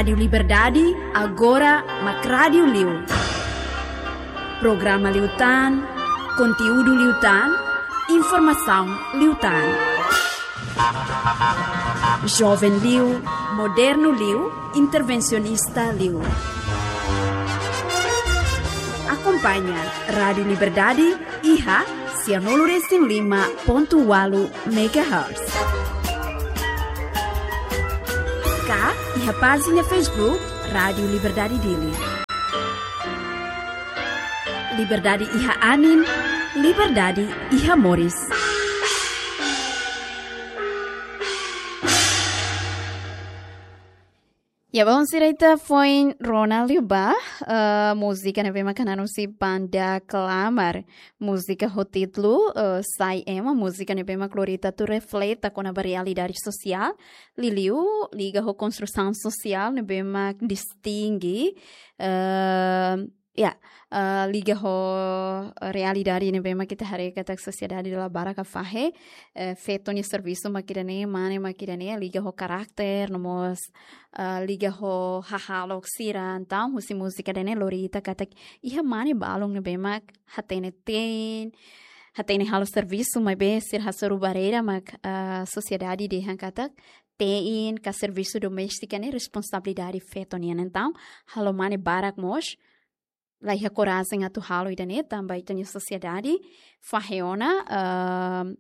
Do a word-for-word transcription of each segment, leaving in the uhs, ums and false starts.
Rádiu Liberdade, agora mak rádiu liu. Programa liután, konteúdu liután, informasaun liután. Joven liu, modernu liu, intervensionista liu. Akompaña Rádiu Liberdade iha sianulu resin lima pontu ualu megahertz. Ka iha pájina Facebook Rádiu Liberdade Dili. Liberdade iha anin, liberdade iha moris. Ya, bainhira ita foin rona liu ba, eh, múzika ne'ebé mak hanesan husi banda Klamar. Múzika ho títulu, eh, Sai Ema, múzika ne'ebé mak lori ita atu reflete kona-ba realidade sosiál. Liuliu, liga ho konstrusaun sosiál ne'ebé mak distinge, eh, ya, eh, liga ho realidade ne'ebé mak ita haree katak sosiedade dala barak fahe, eh, feto nia servisu mak ida-ne'e, mane mak ida-ne'e, liga ho karakter, no mós, eh, liga ho hahalok sira, entaun, husi múzika ida-ne'e lori ita katak iha mane balun ne'ebé mak hatene te'in, hatene halo servisu maibé sira hasoru barreira mak, eh, sosiedade dehan katak te'in ka servisu doméstika ne'e responsabilidade feto nian, entaun, halo mane barak mós la iha korajen atu halo ida-ne'e tanba ita-nia sosiedade fahe ona, ehm,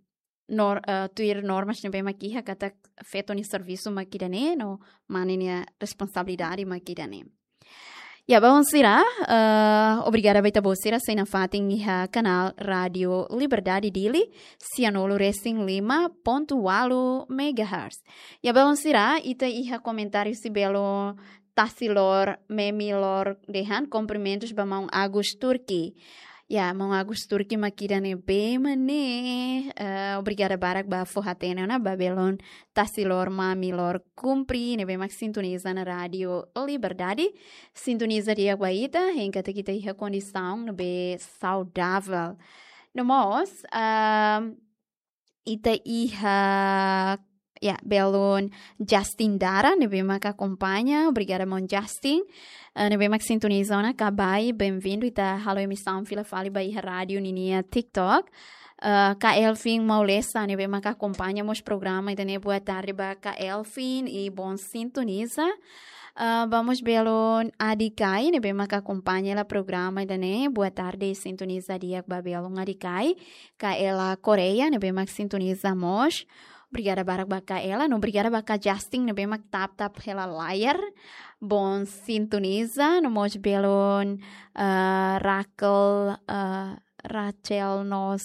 nor-, eh, tuir normas ne'ebé mak iha katak feto nia servisu mak ida-ne'e, no mane nia responsabilidade mak ida-ne'e. Ya, bainhira, eh, obrigada ba ita-boot sira sei nafatin iha kanál Rádiu Liberdade Dili, sianulu resin lima pontu ualu megahertz. Ya, bainhira, ita iha komentáriu husi belun Tasilor Memilor dehan, kumprimentus ba maun Agus Turki. Ya, maun Agus Turki mak ida-ne'ebé mak ne'e, eh, obrigada barak ba fó hatene ona ba belun Tasilor Mamilor Kumpri, ne'ebé mak sintoniza ona Rádiu Liberdade. Sintoniza di'ak ba ita, hein katak ita iha kondisaun ne'ebé saudavel. No mós, ehm, ita iha, ya, belun Justin Dara, ne'ebé mak akompaña, obrigada maun Justin. Eh, ne'ebé mak sintoniza ona, kabai, benvindu, ita halo emisaun fila fali ba iha rádiu ninia TikTok. Eh, ka Elvin Maulesa, ne'ebé mak akompaña mós programa ida-ne'e, boa tarde ba ka Elvin, i bon sintoniza. Eh, ba mós belun Adi Kai, ne'ebé mak akompaña hela programa ida-ne'e, boa tarde, sintoniza di'ak ba belun Adi Kai. Ka Ela Correia, ne'ebé mak sintoniza mós. Obrigada barak ba ka Ela, no obrigada ba ka Justin, ne'ebé mak tap-tap hela layar. Bon sintoniza, no mós belun, eh, Raquel, eh, Rachel Nos,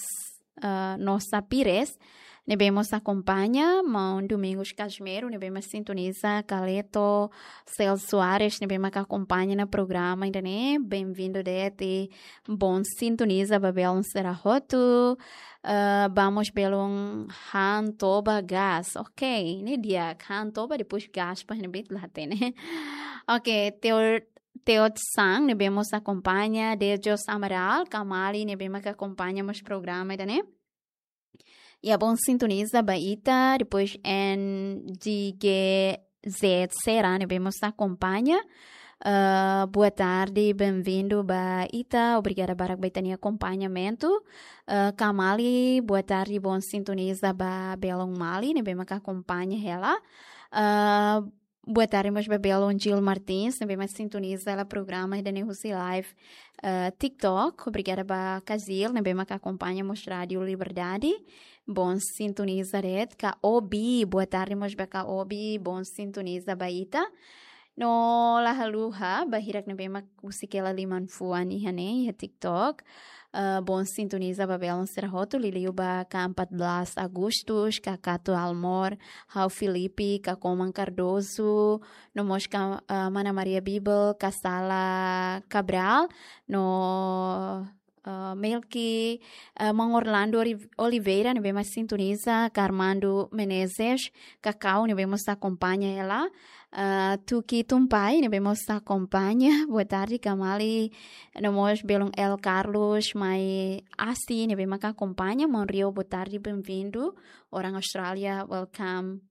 eh, Nosa Pires, ne'ebé mós akompaña, maun Domingos Casimiro, ne'ebé mak sintoniza, Kaleto, Celso Soares, ne'ebé mak akompaña ona programa ida-ne'e, benvindu de'it, bon sintoniza ba belun sira hotu. Eh, ba mós belun Han Toba Gas. Ok, ne'e di'ak, Han Toba, depois Gas, pa ne'ebé la hatene. Ok, Teot, Teot Sang, ne'ebé mós akompaña, Dejos Amaral, Kamali, ne'ebé mak akompaña mós programa ida-ne'e. Ya, bon sintoniza ba ita, depois N G Z Sera, ne'ebé mós akompaña. Eh, boa tarde, benvindu ba ita, obrigada barak ba ita-nia akompañamentu. Eh, Kamali, boa tarde, bon sintoniza ba belun Mali, ne'ebé mak akompaña hela. Eh, boa tarde mós ba belun Gil Martins, ne'ebé mak sintoniza hela programa ida-ne'e husi live, eh, TikTok. Obrigada ba ka Gil, ne'ebé mak akompaña mós Rádiu Liberdade. Bon sintoniza de'it, ka Obi, boa tarde mós ba ka Obi, bon sintoniza ba ita. No la haluha, ba hirak ne'ebé mak husik hela liman fuan iha ne'e, iha TikTok. Eh, bon sintoniza ba belun sira hotu, liuliu ba ka empat belas Agustus, ka Kato Almor, ha'u Filipe, ka Koman Cardoso, no mós ka, eh, mana Maria Bibel, ka Sala Cabral, no, eh, Melki, eh, maun Orlando Ori-, Oliveira, ne'ebé mak sintoniza, ka Armando Menezes, ka Kau, ne'ebé mós akompaña hela. Eh, Tuki Tumpai, ne'ebé mós akompaña. Boa tarde, Kamali. No mós belun El Carlos, mai Asi, ne'ebé mak akompaña. Maun Rio, boa tarde, benvindu. Orang Austrália, welcome.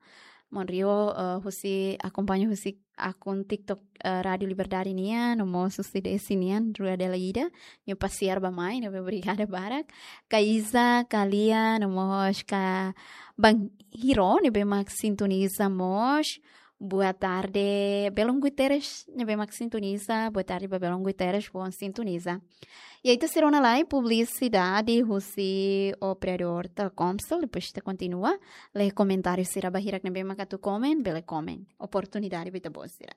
Maun Rio, eh, husi akompaña husi akun TikTok, eh, Rádio Liberdade nian, no mós husi Desi nian, rua dela ida, nia pasiar bá-mai, ne'ebé obrigada barak. Ka Iza, ka Lia, no mós ka Bang Hiro, ne'ebé mak sintoniza mós. Boa tarde, belun Guterres, ne'ebé mak sintoniza. Boa tarde ba belun Guterres, boa sintoniza. I ita sei rona lai publisidade husi operadór Telkomcel, depois ita kontinua. Lee komentáriu sira ba hirak ne'ebé mak atu komen, bele komen. Oportunidade ba ita-boot sira.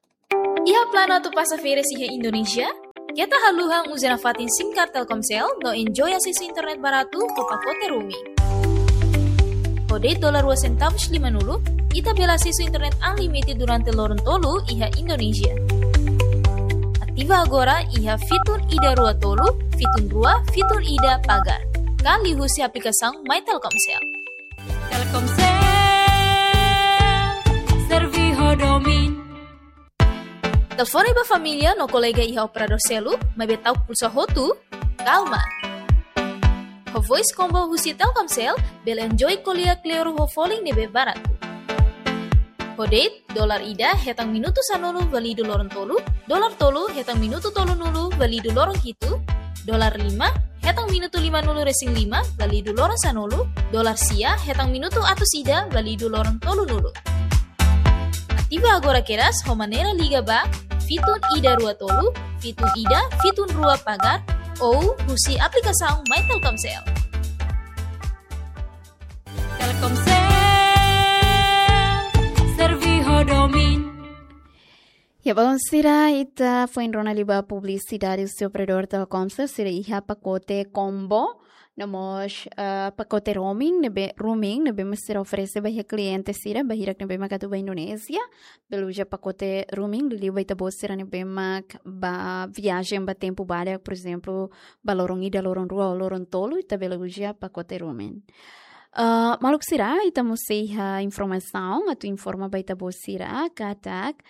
Iha planu atu pasa férias iha Indonézia? Keta haluha uza nafatin SIM card Telkomcel no enjoy asesu internet baratu ho pakote roaming. Ho de'it dolar rua sentavus limanulu, ita bele asesu internet unlimited durante loron tolu iha Indonézia. Ativa agora iha fitun ida rua tolu, fitun rua, fitun ida pagar. Ka liuhusi aplikasaun My Telkomcel. Telkomcel, serve ho domin. Telefone ba família no kolega iha operadór seluk, maibé ta'uk pulsa hotu, kalma. Ho voice combo husi Telkomcel, bele enjoy ko'alia kleur ho folin ne'ebé baratu. Ho de'it, dolar ida hetan minutu sanulu válidu loron tolu, dolar tolu hetan minutu tolunulu válidu loron hitu, dolar lima hetan minutu limanulu resin lima válidu loron sanulu, dolar sia hetan minutu atus ida válidu loron tolunulu. Ativa agora kedas ho maneira liga ba fitun ida rua tolu, fitun ida, fitun rua pagar, ou husi aplikasaun My Telkomcel. Telkomcel, serve ho domin. Ya, belun sira, ita foin rona liu ba publisidade husi operadór Telkomcel, sira iha pakote combo, no mós, eh, pakote roaming, ne'ebé, roaming, ne'ebé mak sira oferese ba iha kliente sira, ba hirak ne'ebé mak atu ba Indonézia, bele uza pakote roaming, liuliu ba ita-boot sira ne'ebé mak ba viajen ba tempu badak, por ezemplu, ba loron ida, loron rua, loron tolu, ita bele uza pakote roaming. Ah, maluk sira, ita mós sei iha informasaun atu informa ba ita-boot sira katak,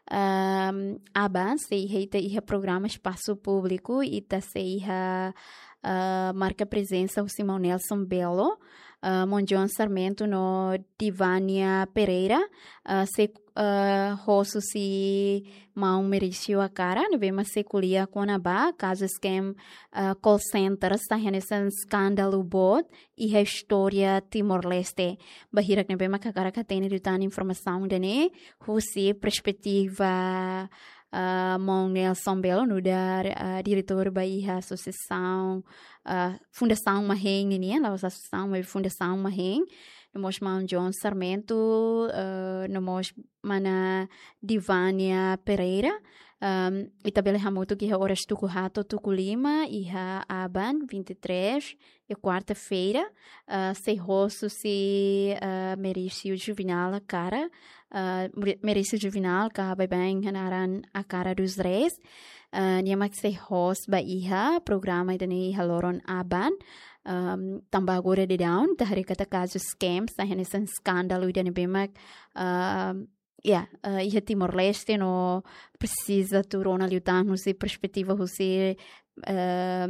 ehm, aban sei iha ita iha programa espasu públiku, ita sei iha, ah, marka prezensa husi Maun Nelson Belo, ah, Maun John Sarmento no Divania Pereira, ah, sei, ah, host husi Maun Merício Akara, ne'ebé mak sei ko'alia kona-ba kazu scam, ah, call center, sai hanesan eskandalu boot iha istória Timor-Leste. Ba hirak ne'ebé mak hakarak hatene liután informasaun ida-ne'e, husi perspetiva, ah, Maun Nelson Belo, nu'udar, ah, diretór ba iha asosiasaun, ah, Fundasaun Mahen nian, la'ós asosiasaun, maibé Fundasaun Mahen. No mós Maun John Sarmento, ah, no mós mana Divania Pereira. Ahm, ita bele hamutuk iha oras tuku haat to'o tuku lima, iha aban, vinte e três, iha kuarta-feira, ah, sei host husi, ah, Merício Juvinal Akara, ah, Mere-, Merício Juvinal, ka baibain hanaran Akara dos Reis. Ah, nia mak sei host ba iha programa ida-ne'e iha loron aban. Ahm, tanba agora daudaun, ita haree katak kazu scam, sai hanesan eskandalu ida ne'ebé mak, ahm, ya, eh, iha Timor-Leste no presiza atu rona liután husi perspetiva husi, eh,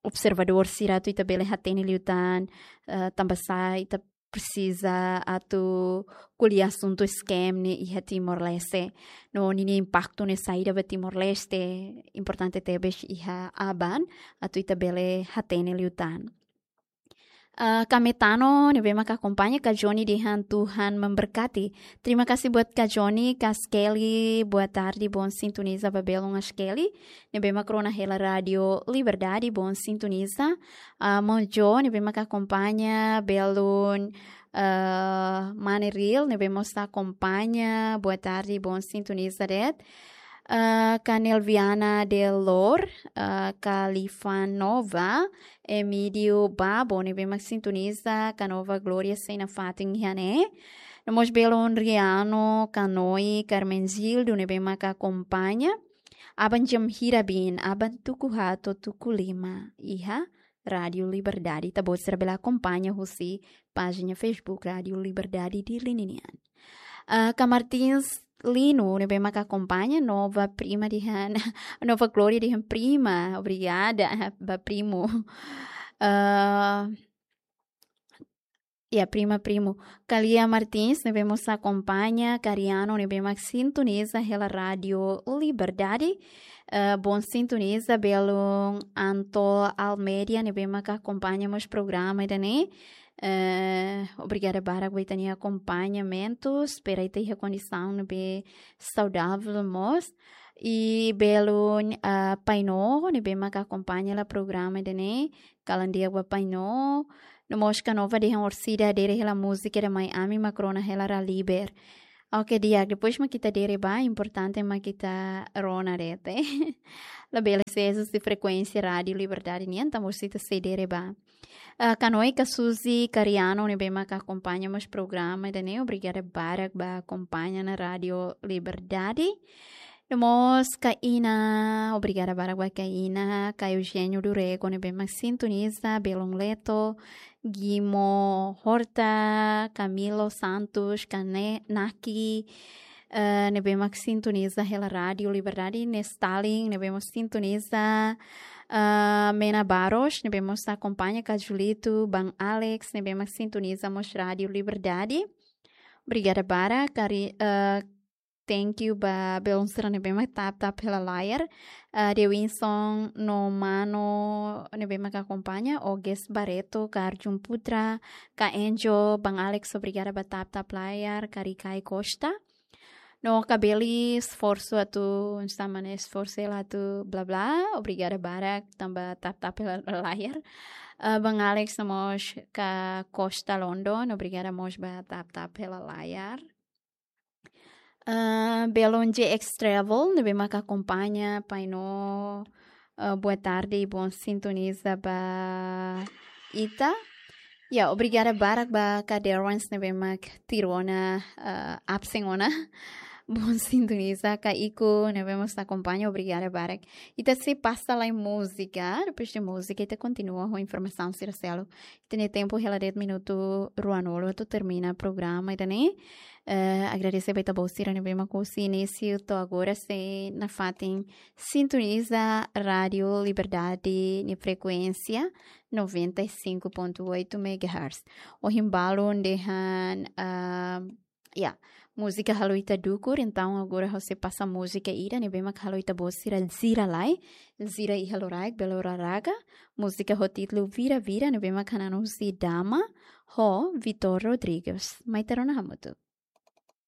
observadór sira atu ita bele hatene liután, eh, tanba sá ita presiza atu ko'alia asuntu scam ne'e iha Timor-Leste. No ninia impaktu ne'e saida ba Timor-Leste, importante tebes iha aban atu ita bele hatene liután. Ah, Kametano, ne'ebé mak akompaña, Kak Joni dehan Tuhan memberkati. Terima kasih buat Kak Joni, Kak Skelly, boa tarde, bom sintoniza ba belun Kak Skelly. Ne'ebé mak rona hela Rádio Liberdade, bom sintoniza. Ah, Maun Jo, ne'ebé mak akompaña, belun, ah, Mane Ril, ne'ebé mós akompaña, boa tarde, bom sintoniza de'it. Ah, Kak Nelviana Delor, ah, Kak Lifa Nova, Emílio Babo, ne'ebé mak sintoniza, Kak Nova Glória sei nafatin iha ne'e. No mós belun Riano, Kak Noi, Carmen Gildo, ne'ebé mak akompaña. Aban jam hira bin, aban tuku haat to'o tuku lima, iha Rádio Liberdade. Ita-boot sira bele akompaña husi pájina Facebook Rádio Liberdade Dili nian. Ah, Kak Martins Lino, ne'ebé mak akompaña, Nova Prima dehan, Nova Glória dehan prima, obrigada, ba primu. Ah, Ya, prima, primu. Kalia Martins, ne'ebé mós akompaña, Kariano, ne'ebé mak sintoniza hela Rádio Liberdade. Eh, bom sintoniza, belun Anto Almeida, ne'ebé mak akompaña mós programa ida-ne'e. Eh, obrigada barak ba ita-nia akompañamentu. Espera ita iha kondisaun ne'ebé saudavel mós. I belun, ah, Paino, ne'ebé mak akompaña hela programa ida-ne'e. Kalan di'ak ba Paino. No mós Kanova dehan orsida haree hela múzika ida mai ami mak rona hela Raliber. Oke, di'ak, depois mak ita haree ba, importante mak ita rona de'it. Labele sees husi frekuénsia Rádio Liberdade nian, tanba orsida sei haree ba. Ah, Kanoika Suzy Kariano, ne'ebé mak akompaña mós programa ida-ne'e, obrigada barak ba akompaña ona Rádio Liberdade. No mós Kaina, obrigada barak ba Kaina, ka Eugênio Durego, ne'ebé mak sintoniza, belun Leto, Guimo Horta, Camilo Santos, Kane, Naki, eh, ne'ebé mak sintoniza hela Rádio Liberdade, Nestalin, ne'ebé mós sintoniza, eh, Mena Baros, ne'ebé mós akompaña, ka Julito, Ban Alex, ne'ebé mak sintoniza mós Rádio Liberdade. Obrigada barak, kari, eh, thank you ba belun sira ne'ebé mak tap tap hela layar. Ah, Dewinson no Mano ne'ebé mak akompaña, Oges Barreto, ka Arjun Putra, ka Enjo, Ban Alex, obrigada ba tap tap layar, ka Rikai Costa. No ka Beli esforsu atu, sama ne'e esforsu hela atu bla bla, obrigada barak, tanba tap tap hela layar. Ah, Ban Alex no mós ka Costa London, obrigada mós ba tap tap hela layar. Ah, belun J X Travel, ne'ebé mak akompaña, Paino, ah, boa tarde, bom sintoniza ba ita. Ya, obrigada barak ba ka Derwans ne'ebé mak tuir ona, ah, absen ona. Bom sintoniza, ka Iko ne'ebé mós akompaña, obrigada barak. Ita sei pasa lai múzika, depois de múzika, ita kontinua ho informasaun sira seluk. Ita-nia tempu hela de'it minutu ruanulu atu termina programa ida-ne'e. Eh, agradese ba ita-boot sira ne'ebé mak husi inísiu to'o agora sei nafatin sintoniza Rádio Liberdade nia frekuénsia noventa e cinco ponto oito megahertz. Ohin balun dehan, ah, ya, múzika halo ita dukur, entaun agora ha'u sei pasa múzika ida ne'ebé mak halo ita-boot sira jira lai, jira iha loraik, bele loraga, múzika ho títulu Vira Vira, ne'ebé mak hanan husi Dama, ho Vitor Rodrigues. Mai ita rona hamutuk.